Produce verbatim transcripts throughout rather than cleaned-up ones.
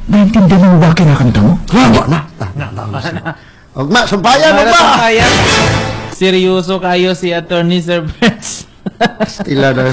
Naintindihan mo ba kinakanta mo? Wa na. Na, na, na. Ugma, sumpayan, Para ugma! sa kaya. Seryoso kayo si Attorney Sir Benz. Stila na.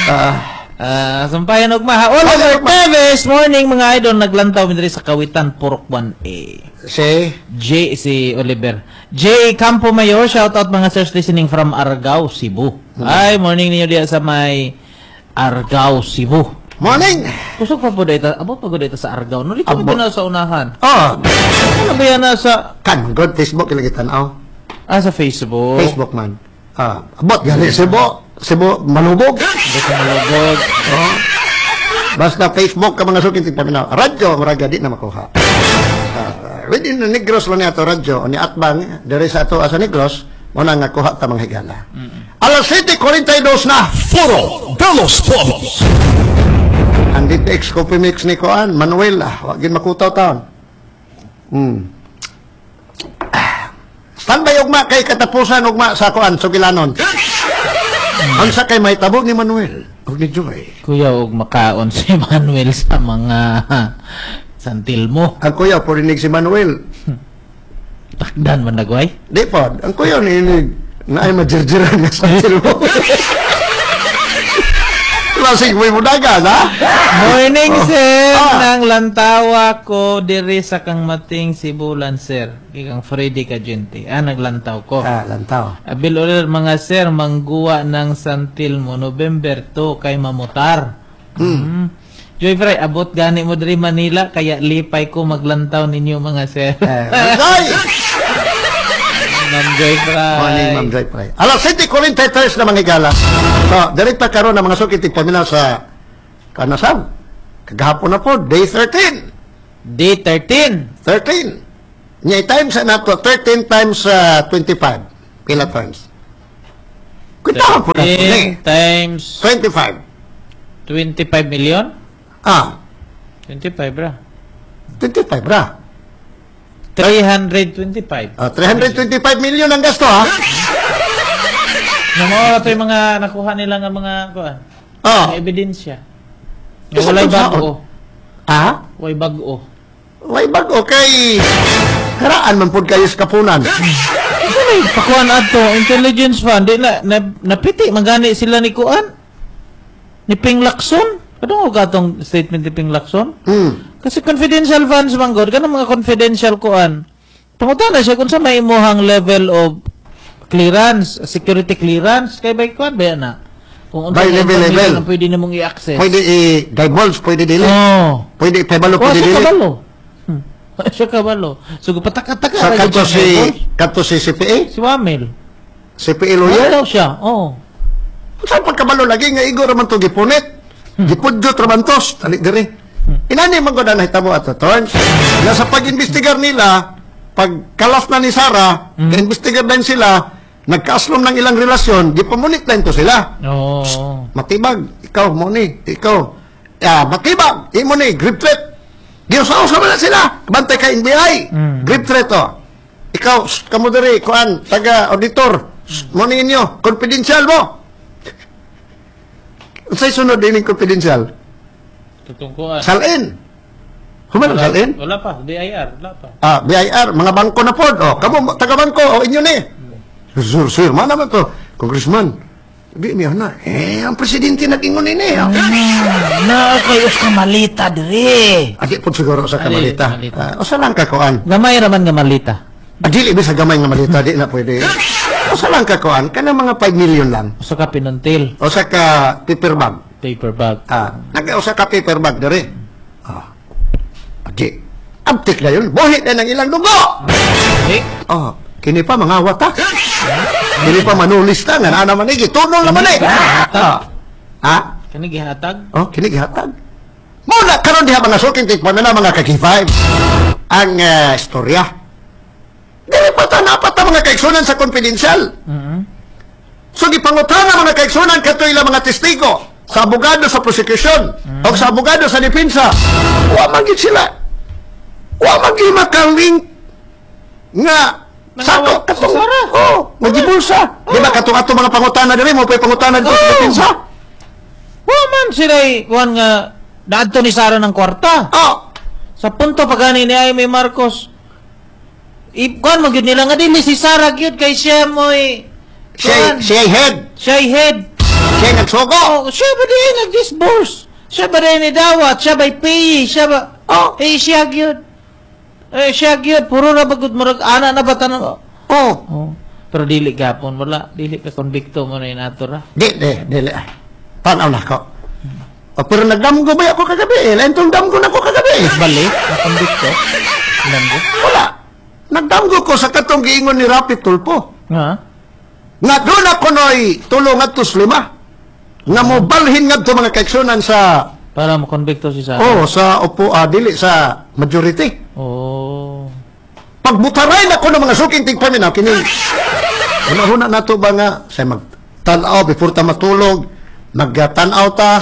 Ah, Ah, sampayan ugma ha. Oliver Ugma. Teves, morning mga idol, naglantaw mi diri sa Kawitan Purok one A. Si, J si Oliver. J Campo Mayor, shout out mga sirs, listening from Argao, Cebu. Ay, morning ninyo diya sa may Argao, Cebu. Morning! Kusog pa po dito, abot pa po dito sa Argao. No, dito Abot. na sa unahan. Oh, Ano ba yan na sa kan, good Facebook ilang tanaw. Ah, sa Facebook. Facebook man. Ah, abot gali Cebu, Cebu Malubog. Abot sa Malubog. Oh. Basta Facebook ka mga suking tigpaminaw. Radyo, muraga di na makuha. Uh, within the Negros lang niya ato radyo, o ni Atbang, diri sa ato sa Negros, mo na nga kuha ta mga higala. Alas siyete kuwarenta y dos na! Foro de los Pueblos. Ang D P X Coffee Mix ni Koan, Manuel, ah, wag gin makutaw taon. Hmm. Ah. Standby ugma kay katapusan ugma sa kuan sugilanon. Unsa kay mahitabo ni Manuel ug ni Joy? Kuya, og makaon si Manuel sa mga santil mo. Ang kuya purinig si Manuel. Takdan man nagway. Di pod, ang kuya ni na ay majirjiran nga santil mo. Lasing mo dagan, ha? Morning, sir. Ah. Nang lantawa ko diri sa kang mating Sibulan, sir. Kang Freddy Cagente. Ah, naglantaw ko. Ah, lantaw. Abil ulit mga sir, mangguwa ng santil mo November two kay mamutar. Mm. Joy Fry, abot gani mo diri Manila kaya lipay ko maglantaw ninyo mga sir. Eh, Joy! Ma'am Joy Fry. Morning, Ma'am Joy Fry. Alas siyete kuwarenta y tres na mga higala. So, direkta karon na mga sukit tigpaminaw sa kanasam. Kagahapon na po, day thirteen. Day thirteen. thirteen. Nya times na nato, thirteen times uh, twenty-five. Pila times? Kwentahan po na po ni. thirteen times twenty-five. twenty-five million? Ah, twenty-five ra. twenty-five ra. three hundred twenty-five. Ah, three hundred twenty-five million ang gasto ha. Nga mao ra to yung mga nakuha nila nga mga kuan. Ah. Mga ebidensya. Nga Isa walay kung saon? bag-o. Ah? Walay bag-o. Way bag-o kay karaan man pud kayo sa kapunan. Ay, pakuan ato intelligence fund di na, na napiti magani sila ni kuan ni Ping Lacson. Kadungog atong statement ni Ping Lacson? Hmm. Kasi confidential funds man gud, kanang mga confidential kuan. Pangutana siya kung sa may imuhang level of clearance, security clearance kay by kuan ba na? Kung unsa By nga level, information level. ang pwede nimong i-access. Pwede i-divulge, pwede dili. Oh. Pwede ipabalo, Wa pwede siya dili. kabalo. Hmm. Wa siya kabalo. So pataka-taka Sa ra kadto gyud si siya. kadto si C P A, Si Wamil. C P A Lawyer lawyer. daw siya. Oh. Saan pagkabalo lagi nga igo raman to gipunit. Gipudyot raman to, tali diri. Inani man gud ang nahitabo ato turns. Na sa pag-imbestigar nila, pag kalas na ni Sara, mm. imbestigar din sila, nagkaaslom ng ilang relasyon, gipamunit na to sila. Oo. Matibag, ikaw mo ni, ikaw. Ah, matibag, imo ni, grave threat. Giusa-usa man na sila. Bantay ka N B I. Mm. Grave threat oh. Ikaw, shh, kamo diri, kuan, taga auditor. Shh, mo ni inyo, confidential mo. Unsay sunod din yung confidential? Tutungkuan. Salin. Human ang salin? Wala pa. B I R. Wala pa. Ah, B I R, mga bangko na pod. Oh, kamo taga bangko, oh, inyo ni. Sir, sir, man naman to. Congressman, di niya na. Eh, ang presidente nag-ingon ini. Oh. Na kay us ka malita dire. Adi po siguro sa Adi, kamalita. malita. Ah, usa lang ka kuan. Gamay ra man nga malita. Ah, dili ba sa gamay nga malita, di na pwede. Usa lang ka kuan, kanang mga five million lang. Usa ka pinuntil. Usa ka paper bag. Paper bag. Ah, nag-usa ka paper bag diri. Ah. Adi. Abtik na yun. Buhi na ng ilang dugo. Eh, Oh, kini pa mga wata. Kini pa manulis ta nga naa naman ni gitunol naman eh. Ah. Ha? Kani gihatag. Oh, kini gihatag. Muna karon diha mga suking tikman na mga ka-K five ang uh, istorya. Dili pa ta napat ta mga kaigsunan sa confidential. Mhm. So gipangutana mga kaigsunan kato ilang mga testigo sa abogado sa prosecution o sa abogado sa depensa. Wa man gid sila. Wa man gid makalink nga sako katong Sara. Oh, magibulsa. Di ba katong ato mga pangutana diri mo pay pangutana dito sa Oh. depensa? Wa man sila kuan nga Naadto ni Sara ng kwarta. Oh, Sa punto pa gani ni Amy Marcos. Ikuan mo gyud nila nga dili si Sara gyud kay siya mo'y siya, kuan, siya head. siya head. Siya nagsugo. Oh, siya ba din nag-disburse? Siya ba din ni dawat? Siya ba pay? Siya ba? Oh. Eh siya gyud. Eh siya gyud puro ra bagud murag ana na ba tanan? Oh. Oh. Pero dili gapon wala, dili ka konbikto mo na inato ra. Di, di, dili. Tanaw na ko. Oh, pero nagdamgo ba ako kagabi eh? Lain tong damgo na ko kagabi eh. Balik na konbikto. Damgo. Wala. Nagdamgo ko sa katong giingon ni Rapi Tulfo. Nga. Nga doon ako no'y tulong adtos lima. Nga mo balhin ngadto mga kaiksunan sa Para mo konbikto si Sara. oh sa opo ah, dili sa majority. Oh. Pagbutaray na ko ng mga suking tigpaminaw kini. Una-una nato ba nga sa magtan-aw before ta matulog, magtan-aw ta.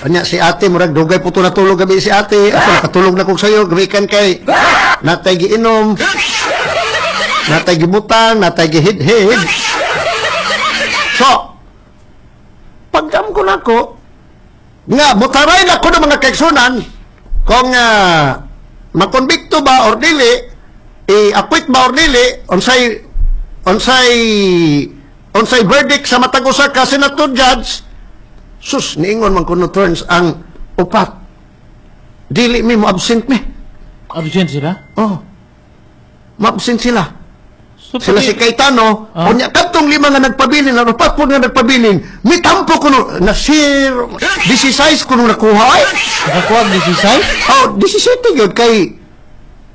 Anya si ate murag dugay po to natulog gabi si ate. Ako nakatulog na kog sayo gabi kan kay natay giinom. Natay gibutang, natay gihidhid. So, pagdam ko nako nga butaray na ko ng mga kaiksunan kung uh, makonbikto ba or dili i-acquit ba or dili unsay unsay unsay verdict sa matag usa ka senator judge sus niingon man kuno turns ang upat dili mi mo absent mi Absent sila? oh ma-absent sila So, sila pati- si Cayetano Ah. unya kadtong lima nga nagpabilin ang upat po nga nagpabilin mitampo kuno na zero sixteen kuno nakuha ay Nakakuha og sixteen? oh seventeen yun kay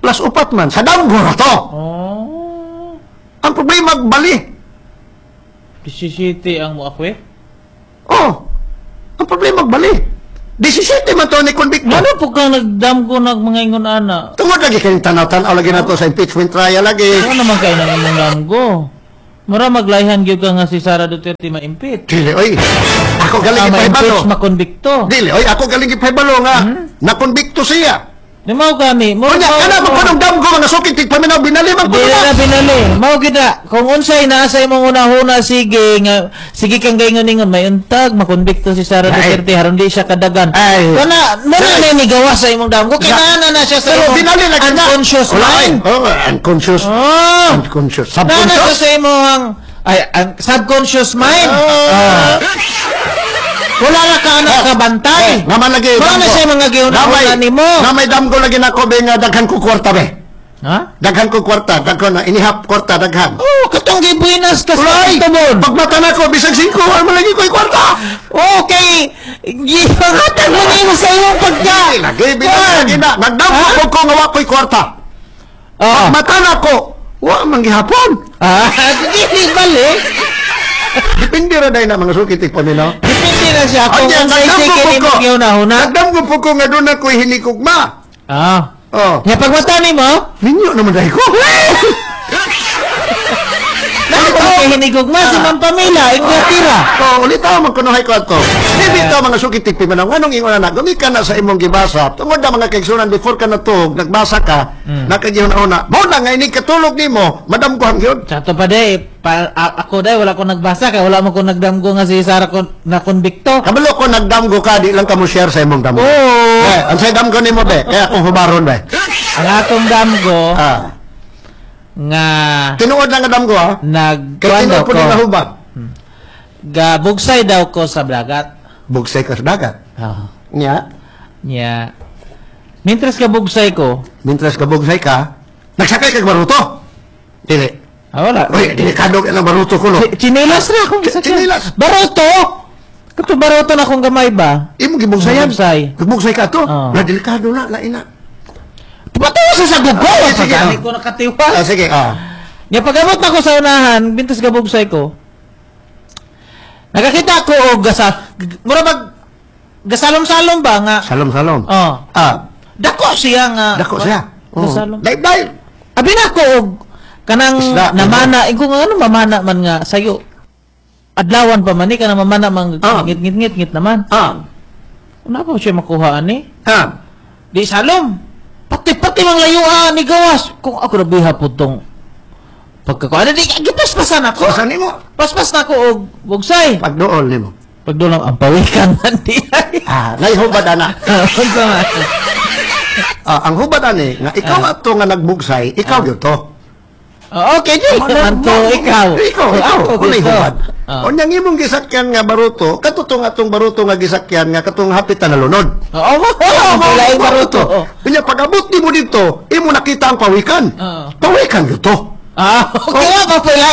plus upat man sa damgo na to Oh. ang problema bali seventeen ang mo-acquit? oh ang problema bali seventeen man to ni convict Ano po kang nagdamgo nag mga ingon ana? tungod lagi kayong tanaw-tanaw lagi na to sa impeachment trial lagi Ano naman kayo nang imong damgo? Mura maglayhan gyud ka nga si Sara Duterte ma-impeach. dili oy ako galing Ah, ipahibalo ma-impeach, makonbikto. dili oy ako galing ipahibalo nga nakonbikto siya Di mao kami. Mura Unya, mao- kana mo kanong damgo mga sukit tigpaminaw binali man Di kuno na na. binali. Mao gyud na. Kung unsay naa sa imong una-una sige nga sige kang gaingon-ingon may untag makonbikto si Sara Ay. Duterte haron di siya kadagan. Ay. Kana mo na Ay. na nigawa sa imong damgo kay Na- naa na na siya sa Pero imong binali lagi na. unconscious Wala, ay. mind. Oh, unconscious. Oh. Unconscious. Naa na siya Subconscious. sa imong ay ang subconscious mind. Ah. Oh. Wala na ka anak kabantay. Eh, naman lagi. Mao na damgo. siya mga giuna-una Namay- nimo. Namay damgo lagi nako be nga daghan ko kwarta be. Ha? Daghan ko kwarta, daghan na inihap kwarta daghan. Oh, katong gibuinas ka sa Ulay, tubon. pagmata nako bisag singko wala man lagi ko'y kwarta. Okay, gipangatag mo nimo sa imong pagka. Dili lagi binali lagi na. Nagdamgo Ha? ko ko nga wa ko'y kwarta. Oh. Pagmata nako, wa man gihapon. Ah, dili balik. Depende ra day na mga sukit tigpaminaw. Depende na siya kung Anya, unsay nagdamgo sige po nimo ko. gihuna-huna. Nagdamgo po ko nga doon ako'y hinikugma. Ah. Oh. Nya pagmata nimo, Minyo naman dahil ko. Ano kay hinigugma si Ma'am Pamela, Inglaterra. Oh, ulit ako magkunuhay ko ato. Dili to mga sukit tigpaminaw. Nganong ingon na gumikan na sa imong gibasa. Tungod na mga kaigsunan before ka natug, nagbasa ka, mm. nakagihuna-una. Mo na nga ini katulog nimo, madamgohan gyud. Sa ato pa day, pa, a- ako day wala ko nagbasa kay wala mo ko nagdamgo nga si Sara kon na konbikto. Kabalo ko nagdamgo ka, di lang ka mo share sa imong damgo. Oo. Eh, ang say damgo nimo be, kaya akong hubaron be. Ang atong damgo Ah. nga Tinuod lang nga damgo ha. Kay nagkuan tinuod daw po ko. ni nahubag. Gabugsay daw ko sa dagat. Bugsay ka sa dagat. Oh. Nya, Nya. Mientras kabugsay ko, mintras ka bugsay ka, nagsakay kag baruto. Dili. ah, wala. Uy, delikado ka ng baruto ko no. Chi- Chinelas na akong Ch- chinelas. Baroto! Kato baroto na akong gamay ba? Imo gibugsayan. Gibugsay. Gibugsay ka to. Oo. Na delikado na, lain na. Patawa sa sagog ko! Ah, sige, Pagani ah. ko nakatiwa. Ah, sige, ah. Nya pag-abot na ko sa unahan, bintas gabugsay ko. Nakakita ko og gasa mura mag gasalom-salom ba nga? Salom salom. Oh. Ah, Dako siya nga. dako siya. Oh. Gasalom. Dive dive. Abi na ko og kanang Isda, namana, ingo nga ano mamana man nga sayo. Adlawan pa man ni kanang mamana man Ah. ngit ngit ngit ngit naman. Ah. Una pa siya makuha ani? Ah. Di salom. Pati pati mang layuan ni gawas. Kung ako rabiha po tong pagkakuha. Ano di gipaspasan ako. Pasan nimo. Paspas na ako og bugsay. Pagduol nimo. Pagdulong ang pawikan man di ay. Ah, nay hubad ana. Unsa man? Ah, ang hubad ani nga ikaw ato nga nagbugsay, ikaw gyud to. Oh, okay, di man to ikaw. Ikaw, ikaw. Ako Unay gusto. hubad. Ah. Unyang imong gisakyan nga baruto, katutong atong baruto nga gisakyan nga katong hapit na nalunod. Oo, mo. Wala yung baruto. Unya pag-abot nimo dito, imo nakita ang pawikan. Oo. Pawikan gyud to. Ah, okay nga pa pala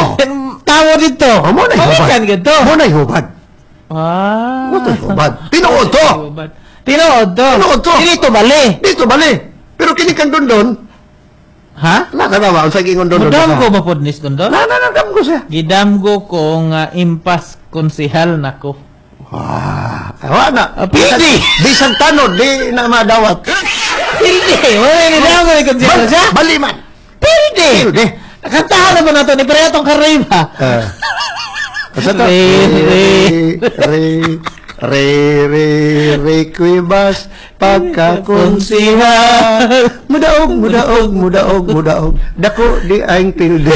Oh. tao dito. Oh, mo na hubad. Pawikan gito. Mo na hubad. Ah. Mo na hubad. Tinuod to. Hubad. Tinuod to. Tinuod to. Dili to bali. Dito bali. Pero kini kang dondon, Ha? na ka ba unsa giingon dondon? Mudam ko ba pod nis dondon? Na na na dam ko siya. Gidamgo ko nga impas konsihal nako. Wah, wa na. Ah, pwede. Bisan tanod di na madawat. Pildi. Wala ni damgo ni konsihal Bal- siya. Bali man. Pildi. Pildi. Kantahan na ba nato ni pareho tong karayba? Eh. Asa to? Re, Re, re, re, re, re, kwibas, pagkakonsihal. Mudaog, mudaog, mudaog, mudaog. Dako di aing pildi.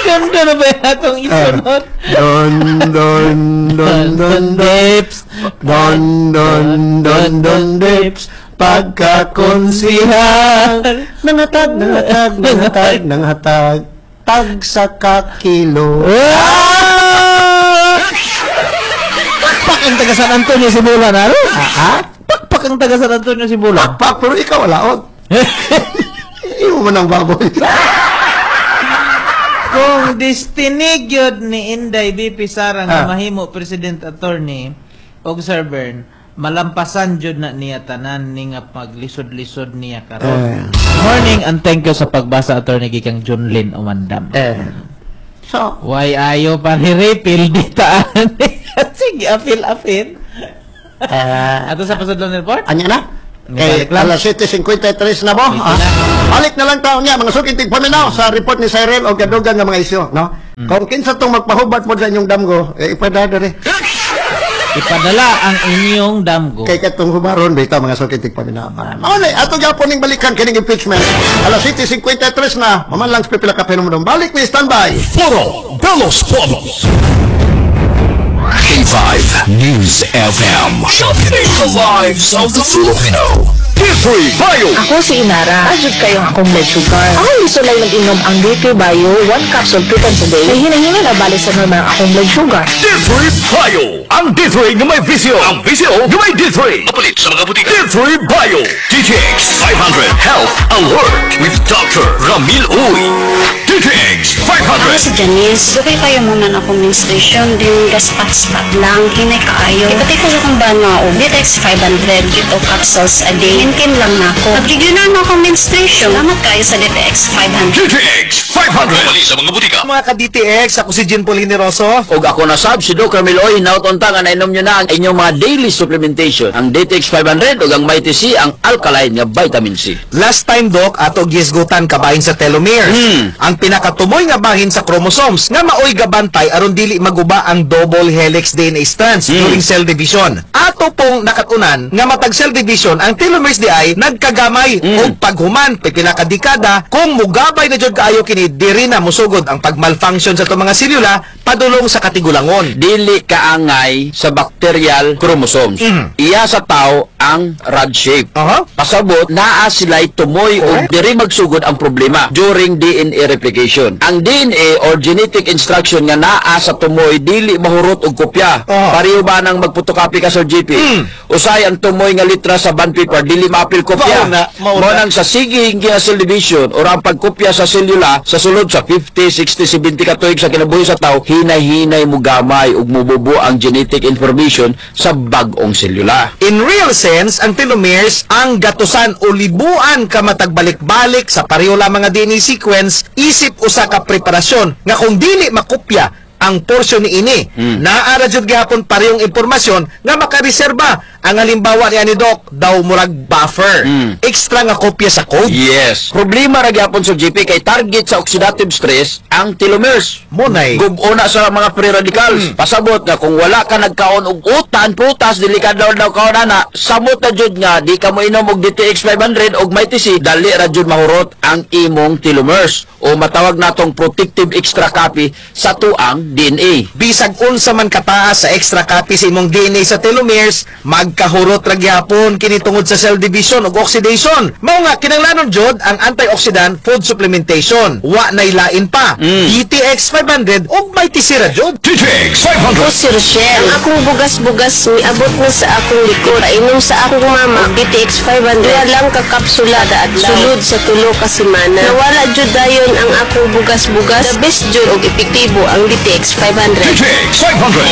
Ganda na ba atong isunod? Don, don, don, don, don. Dips. Don, don, don, don, dips. Pagkakonsihal. Nangatag, nangatag, nangatag, nangatag. Tag sa kakilo. Ah! Pakpak ang taga San Antonio Sibulan, ano? Ah, ah? Pakpak ang taga San Antonio Sibulan. Pakpak, pero ikaw wala. Oh. Imo man ang baboy. Kung destiny gyud ni Inday B P Sara nga Ah. mahimo president, attorney og Sir Bern, malampasan jud na niya tanan ni nga paglisod-lisod niya karon. Eh. Morning and thank you sa pagbasa, attorney, gikang John Lynn Umandam. Eh. So, Why ayo panirefill di taan. Sige, apil apil. eh, Ato sa pasudlon report? anya na? Kay Balik lang. alas siyete singkwenta y tres na mo. Dito Ah. na. Balik na lang taon niya, mga suking tigpaminaw sa report ni Cyril o gadugan nga mga isyo, no? Hmm. Kung kinsa tong magpahubat mo sa inyong damgo, eh, ipadada rin. Ipadala ang inyong damgo. Kay katong hubaron bitaw, mga suking tigpaminaw. Ah, Mao na, ato gyapon ning balikan kining impeachment. Alas siyete singkwenta y tres na, maman lang sa pipila ka penomeno. Balik mi, standby. Foro de los Pueblos. K five News F M. Shaping the lives of the Filipino. P three Bio. Ako si Inara. Ajud kayo ang akong blood sugar. Ako gisulay mag-inom ang D T Bio, one capsule two times a day. May hinahinga na balik sa normal ang akong blood sugar. D three Bio. Ang D three nga may V C O. Ang V C O nga may D three. Mapalit sa mga butika. D three Bio. D T X five hundred Health Alert with Doctor Ramil Uy. D T X Ako five hundred. si Janice. Dugay kayo muna na akong menstruation. Din gaspat-spat lang. Hinay kaayo. Ipatay ko sa akong bana og D T X five hundred ito capsules a day. Hinkin lang na ako. Nag-regular na akong menstruation. Salamat kayo sa D T X five hundred. D T X five hundred. Mapalit sa mga butika. Mga ka-D T X, ako si Jean Paul Generoso. Og ako na sab si Doc Ramil Oy, hinaut unta nga nainom nyo na ang inyong mga daily supplementation. Ang D T X five hundred ug ang Mighty C, ang alkaline nga vitamin C. Last time, Doc, ato gisgutan kabahin sa telomeres. Hmm. Ang pinakatumoy nga bahin sa chromosomes nga maoy gabantay aron dili maguba ang double helix D N A strands Hmm. during cell division. Ato pong nakatunan nga matag cell division ang telomeres di ay nagkagamay Hmm. og paghuman pipila ka dekada kung mugabay na jud kaayo kini diri na musugod ang pagmalfunction sa itong mga selula padulong sa katigulangon. Dili kaangay sa bacterial chromosomes. Mm. Iya sa tao ang rod shape. Aha. Pasabot, naa sila'y tumoy o Correct. diri magsugod ang problema during D N A replication. Ang D N A or genetic instruction nga naa sa tumoy dili mahurot og kopya. Oh. Pareho ba nang magphotocopy ka sa G P? Mm. Usay ang tumoy nga litra sa bond paper dili maapil kopya. Mao na, mao Mao na. nang sa sige nga cell division or ang pagkopya sa selula sa sulod sa fifty, sixty, seventy ka tuig sa kinabuhi sa tao, hinay-hinay mo gamay ug mububo ang genetic information sa bag-ong selula. In real sense, ang telomeres ang gatusan o libuan ka matagbalik-balik sa pareho lamang nga D N A sequence isip usa ka preparasyon nga kung dili makopya ang porsyon ni ini, Hmm. naa ra jud gihapon parehong impormasyon nga makareserba Ang halimbawa niya ni Doc, daw murag buffer. Mm. Extra nga kopya sa code. Yes. Problema ra gyapon sa G P kay target sa oxidative stress ang telomeres. Munay. Gubo na sa mga free radicals. Pasabot nga kung wala ka nagkaon og utan, prutas, dili ka daw daw kaon ana, samot na jud nga di ka mo inom og D T X five hundred og Mighty C, dali ra jud mahurot ang imong telomeres o matawag natong protective extra copy sa tuang D N A. Bisag unsa man kataas sa extra copy sa imong D N A sa telomeres, magkahurot ra gyapon kini tungod sa cell division ug oxidation. Mao nga kinahanglanon jud ang antioxidant food supplementation. Wa nay lain pa. Mm. D T X five hundred ug Mighty C ra jud. D T X five hundred. Ko si Rochelle. Ang akong bugas-bugas miabot na sa akong likod. Painom sa akong mama og D T X five hundred. Duha lang ka kapsula kada adlaw. Sulod sa tulo ka semana. Nawala jud dayon ang akong bugas-bugas. The best jud og epektibo ang D T X five hundred. D T X five hundred.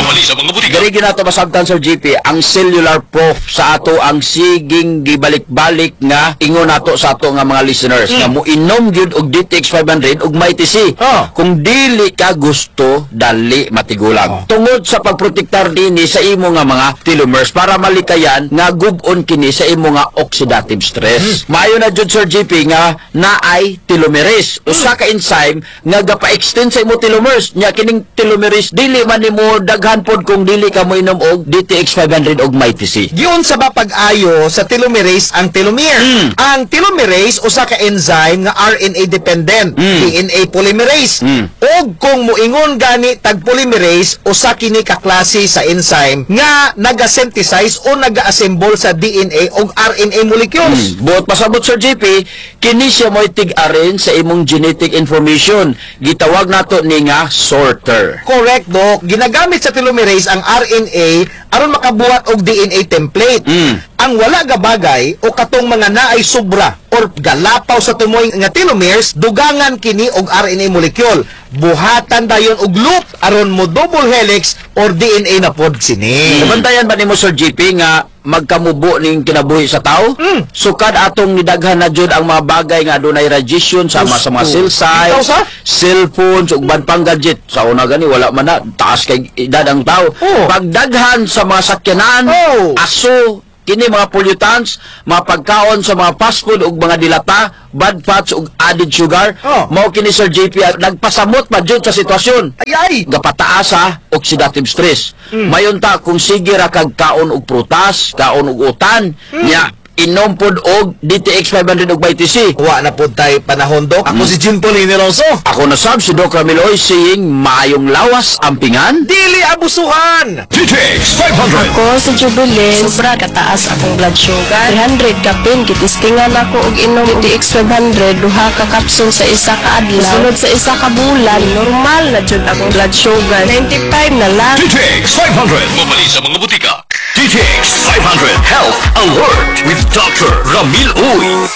Diri ginato masabtan, Sir G P, ang cellular proof sa ato ang siging gibalik-balik nga ingon nato sa ato nga mga listeners nga muinom gyud og D T X five hundred ug Mighty C. Oh. Kung dili ka gusto dali matigulang. Tungod sa pagprotektar dinhi sa imo nga mga telomeres para malikayan nga gub-on kini sa imo nga oxidative stress. Maayo na jud, Sir G P, nga naay telomerase. Usa ka enzyme nga gapa-extend sa imo telomeres. Nya kining telomerase dili man nimo daghan pod kung dili ka moinom og D T X five hundred og Mighty C. Giunsa ba pag-ayo sa telomerase ang telomere? Mm. Ang telomerase usa ka enzyme nga R N A dependent, Mm. D N A polymerase. Mm. Og kung muingon gani tag polymerase, usa kini ka klase sa enzyme nga naga-synthesize o naga-assemble sa D N A og R N A molecules. Mm. Buot pasabot, Sir G P, kini siya mo'y tig-arin sa imong genetic information. Gitawag nato ni nga sorter. Correct, Doc. Ginagamit sa telomerase ang R N A aron makabuhat og D N A template. Mm. Ang wala gabagay o katong mga naay sobra or galapaw sa tumoy nga telomeres, dugangan kini og R N A molecule. Buhatan dayon og loop aron mo double helix or D N A na pod sini. Nabantayan ba nimo, Sir G P, nga magkamubo ning kinabuhi sa tao? Mm. Sukad atong nidaghan na jud ang mga bagay nga adunay radiation sama sa mga cell sites, Ikaw sa? Cellphones ug uban pang gadget. Sa una gani wala man na, taas kay edad ang tao. Oh. Pagdaghan sa mga sakyanan, Oh. aso, kini mga pollutants, mga pagkaon sa mga fast food ug mga dilata, bad fats ug added sugar, Oh. mao kini, Sir J P, nagpasamot pa jud sa sitwasyon Ay ay. gapataas sa oxidative stress. Mayon ta kung sige ra kag kaon og prutas, kaon og utan, nya inom pod og D T X five hundred og Y T C. Wa na pod tay panahon, Doc. Ako si Jim Polineroso. Ako na sab si Doc Ramiloy saying maayong lawas ampingan. Dili abusuhan. D T X five hundred. Ako si Jubilin, sobra kataas akong blood sugar. three hundred kapin, gitistingan ako og inom og D T X five hundred, duha ka kapsul sa isa ka adlaw. Sunod sa isa ka bulan, normal na jud akong blood sugar. ninety-five na lang. D T X five hundred. Mabali sa mga butika. D T X five hundred Health Alert with Doctor Ramil Uy.